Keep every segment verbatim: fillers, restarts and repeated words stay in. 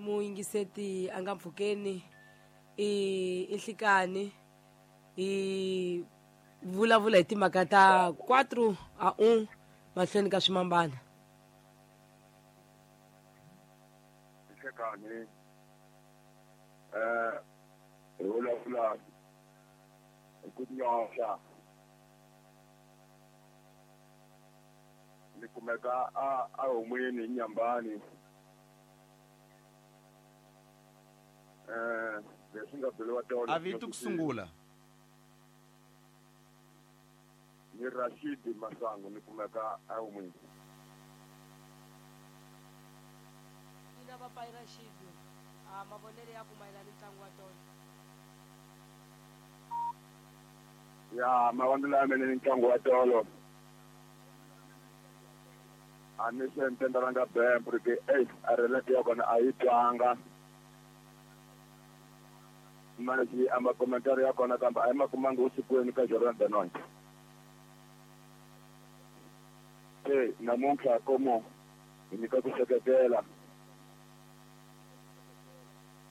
Muyingiseti a nga mpfhukeni i i nhlikani hi vulavula hi timhaka ta quatro a un mahlweni ka swimambana. Nhlikani eh hi vulavula hi ku nyoxa ni kumeka a a humweni nyambani eh leswi nga beliwa tolo a vito ku sungula ni Rashid Masango ni kumeka a humweni ina papai Rashid a mavonelo ya ku mayelana ni ntlangu wa tolo ya mavonelo ya mina ni ntlangu wa tolo a ni se ntendalanga bembu ri ke ei a relate ya kona a yi twanga manje a makomentari ya kona kambe a yi ma kumanga usikwini ka Jordan Benoni se namuntlha komo hi nyika ku seketela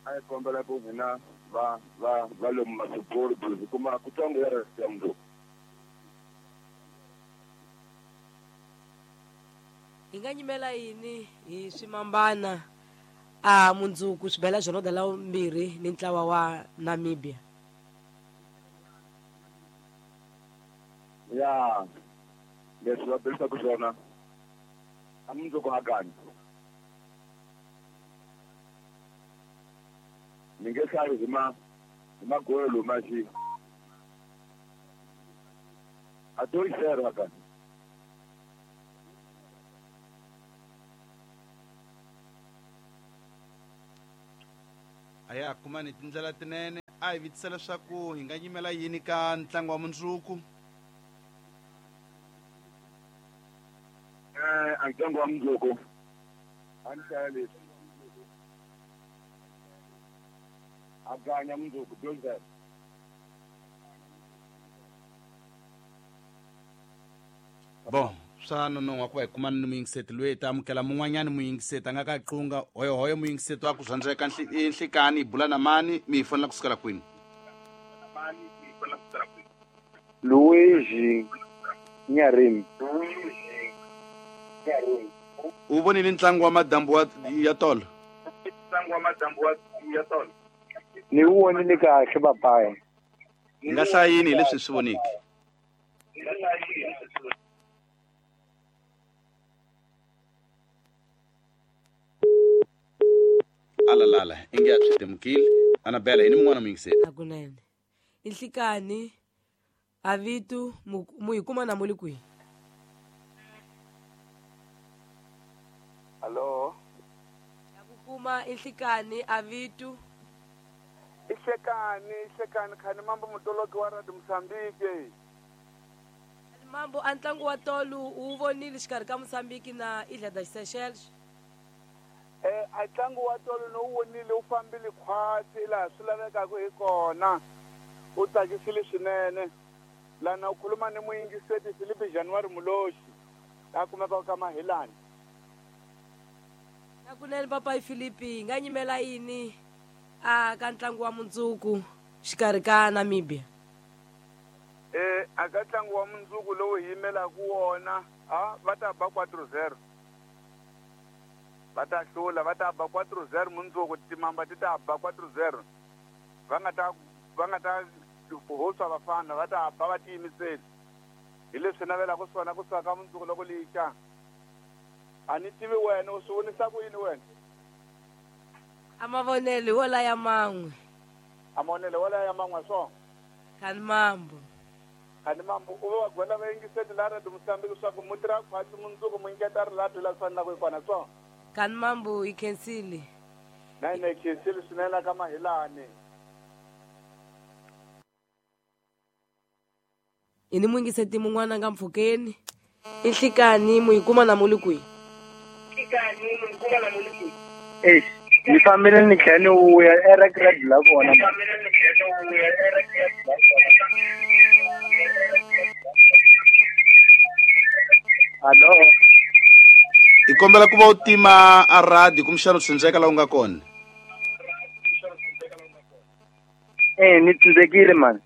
a hi kombela ku hina va va va lomu masiporo hi kuma kutsongo ya ya mundzuku hi nga nyimela yini hi swimambana a mundzuku swi bela Jordan la mbirhi ni ntlawa wa Namibia ya leswi va belisaka swona a mundzuku hakani ni nge hlayi hi ma hi magolo maxi a dois zero hakani a ya kumani tindlela tinene a hi vitisa leswaku hi nga nyimela yini ka ntlangu wa mundzuku eh a ntlangu wa mundzuku a ni hlaya leswi a ganya mundzuku dois zero bon swa nonohwa ku va hi kumana ni muyingiseti loyi hi ta amukela mun'wanyani muyingiseti a nga ka qunga hoyohoyo muyingiseti wa ku zwandzeka nhlikani hi bula na mani mi hi fonela kusukela kwini Luigi Nyarim u vonile ntlangu wa madambu wa ya tolo ntlangu wa madambu wa ya tolo ni wu vonile kahle papayi hi nga hlaya yini hi leswi hi swi voniki alalala inge a swi temukile Anabela yini mun'wana muyingiseri hakunene i nhlikani a vito mu hi kuma na mu le kwihi Hello ya ku kuma i nhlikani a vito i hlekani i hlekani khani mambo mutoloki wa Radio Mozambique mambo a ntlangu wa tolo u vonile xikarhi ka Mozambique na Ilha das Seychelles eh a ntlangu wa tolo no wu vonile wu fambile khwatsi laha swi lavekaka hi kona u tsakisile swinene lana u khuluma ni muyingiseti Filipe January Muloshi la kumekaka ka Mahilani nakunene papai Filipe hi nga nyimela yini a ka ntlangu wa mundzuku xikarhi ka Namibia eh a ka ntlangu wa mundzuku lowu hi yimelaka wona a va ta ba quatro zero va ta hlula va ta ba quatro zero mundzuku timamba ti ta ba quatro zero va nga ta va nga ta hoswa vafana va ta ba va tiyimiseli hi leswi navelaka swona kusuka ka mundzuku loko lixa a ni tivi wena u swi vonisa ku yini wena a mavonelo wo laya man'we a mavonelo wo laya man'we swona khani mambo khani mambo u va gwela vayingiseti la Radio Mozambique leswaku mu tirha khwatsi mundzuku mu nyiketa rilado la swi fanelaka hi kona swona khani mambo hi khensile na hina hi khensile swinene ka Mahilani hi ni muyingiseti mun'wana nga mpfhukeni i nhlikani mu hi kuma na mu le kwihi eish ni fambile ni tlhela ni vuya erekredi la kona Hello hi kombela ku va u tima a radio kumbexana u tshundzeka laha u nga kona. Eh ni tsindzekile mani.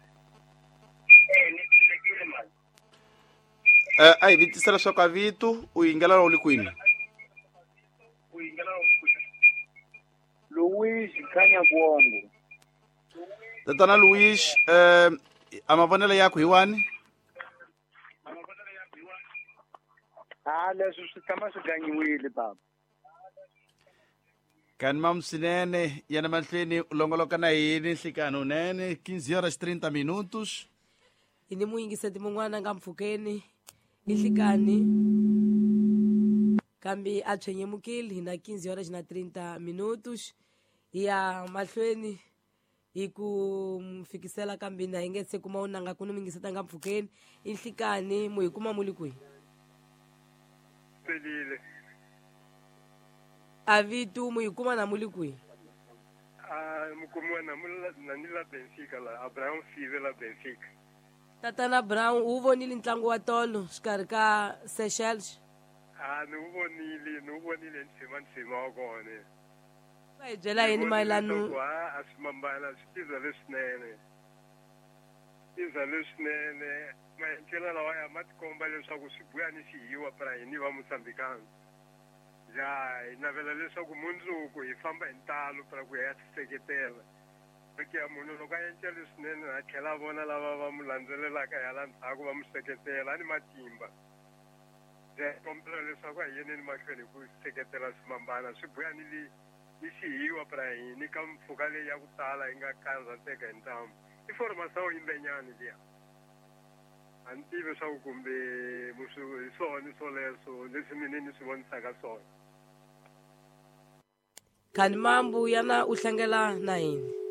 Eh a hi vitisa leswaku a vito u yingela u le kwini? Luis Khanya Kuongo. Tatana Luis, eh a mavonelo yakho hi wani? Ah leswi swi tshama swi ganyiwile baba. Kani mam swinene yana mahlweni u longoloka na yini nhlikani unene quinze horas trinta minutos. Hi ni muyingiseti mun'wana nga mpfhukeni i nhlikani kambe a tshwenyemukile hi na quinze horas na trinta minutos hi ya mahlweni hi ku fikisela kambe na hi nge se kuma unanga ku ni muyingiseti nga mpfhukeni i nhlikani mu hi kuma mu le kwihi? Pelile. A vito mu hi kuma na mu le kwihi? Ah mukumiwa na na ni la Benfica la Abraham Five la Benfica. Tatana Brown u vonile ntlangu wa tolo xikarhi ka Seychelles? Ah ni wu vonile ni wu vonile ntsima ntsima wa kona. Va hi byela yini mayelana a swi mambana swi tiza leswinene. Tiza leswinene maendlelo lawa ya ma tikomba leswaku swi buya ni xihiwa para hini va Mozambikana. Ya hi navela leswaku mundzuku hi famba hi ntalo para ku ya tiseketela. Ke ya munhu loko a endla leswinene a tlhela a vona lava va mu landzelelaka hi hala ndzhaku va mu seketela a ni matimba. Ya kombela leswaku a hi yeneni mahlweni hi ku seketela swimambana swi buya ni li ni xihiwa para hini ka mpfhuka leyi ya ku tala yi nga karhateka hi ntamu. I formação yimbenyani liya. A ni tivi swa ku kumbe hi swona swoleswo leswi mina ni swi vonisaka swona. Kani mambu yana u hlangela na yini?